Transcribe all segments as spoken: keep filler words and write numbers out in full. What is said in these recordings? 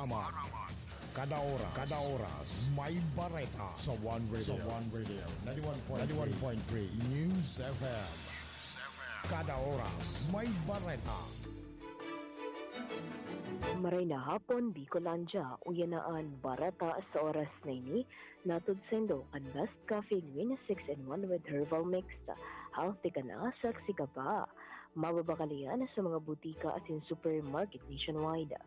Maraman. Kada oras, kada oras, may bareta sa One Radio. Sa One Radio, ninety-one point three News F M. Kada oras, may bareta. Maray na hapon, Bicolandia. Uya na an bareta sa oras na ini. Nahatod saindo kan Best Coffee Green six-in-one with Herbal Mix. Healthy ka na, sexy ka pa. Mababakal iyan sa mga butika asin supermarket nationwide.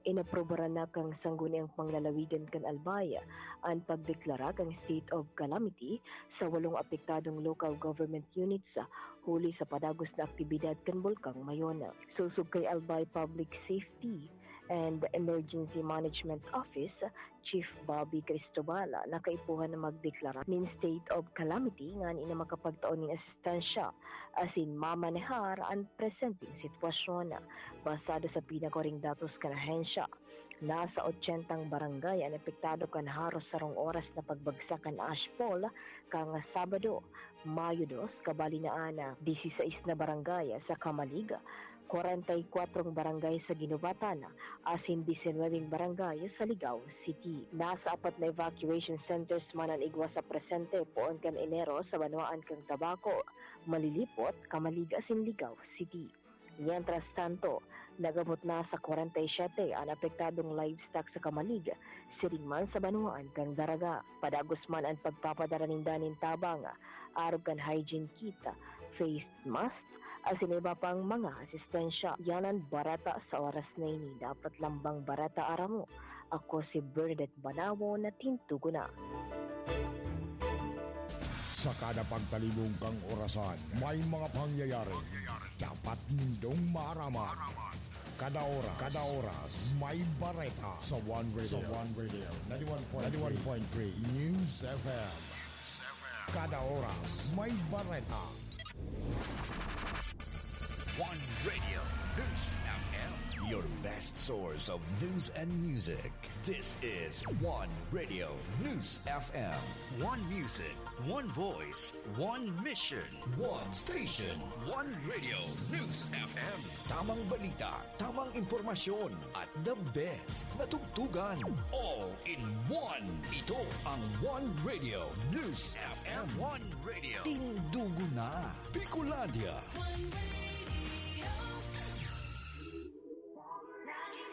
Inaprubaran na kan Sangguniang Panglalawigan kan Albay an pagdeklara kan state of calamity sa walong apektadong local government units huli sa padagos na aktibidad kan Bulkang Mayon. Sosog kay Albay Public Safety and Emergency Management Office Chief Bobby Cristobal, nakaipuhan na magdeklara nin state of calamity ngani na makapagtao nin asistensya asin mamanehar an presenteng sitwasyon. Basado sa pinakuring datos kan ahensya, nasa ochentang barangay an apektado kan haros sarong oras na pagbagsak kan ashfall kan Sabado, Mayo dos, kabali na an disisais na barangay sa Camalig, kwarenta y kwatro barangay sa Guinobatan, asin disinwebeng barangay sa Ligao City. Nasa apat na evacuation centers man an igwa sa presente poon kan Enero sa banwaan kan Tabaco, Malilipot, Camalig asin Ligao City. Mientras tanto, nag-abot na sa kwarenta y siyete an apektadong livestock sa Camalig, siring man sa banwaan kan Daraga. Padagos man an pagpapadara ninda nin tabang, arog kan hygiene kit, face mask, asin iba pang mga asistensya. Yan an bareta sa oras na ini. Dapat lambang bareta aram mo. Ako si Bernadette Banawo na tintugo na. Sa kada pagtalibong kang orasan, may mga pangyayari dapat nindong maaraman. Kada oras, kada oras, may bareta sa One Radio. Sa One Radio, ninety-one point three News F M. Kada oras, may bareta. One Radio News F M, your best source of news and music. This is One Radio News F M. One music, one voice, one mission. One station, One Radio News F M. Tamang balita, tamang impormasyon, at the best na tugtugan. All in one. Ito ang One Radio News F M. One Radio. Tindugo na, Bicolandia. One Radio.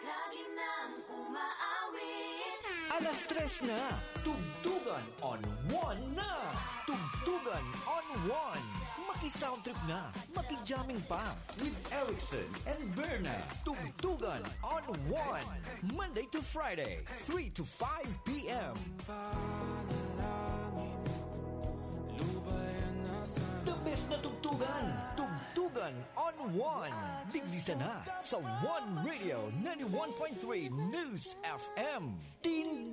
Lagi nang umaawit. Alas tres na. Tugtugan on One na. Tugtugan on One. Maki-sound trip na. Maki-jamming pa. With Erickson and Berna. Tugtugan on One. Monday to Friday, three to five p.m. The best na tugtugan. Tugtugan on One. Digdi sana sa One Radio ninety-one point three News F M. Tin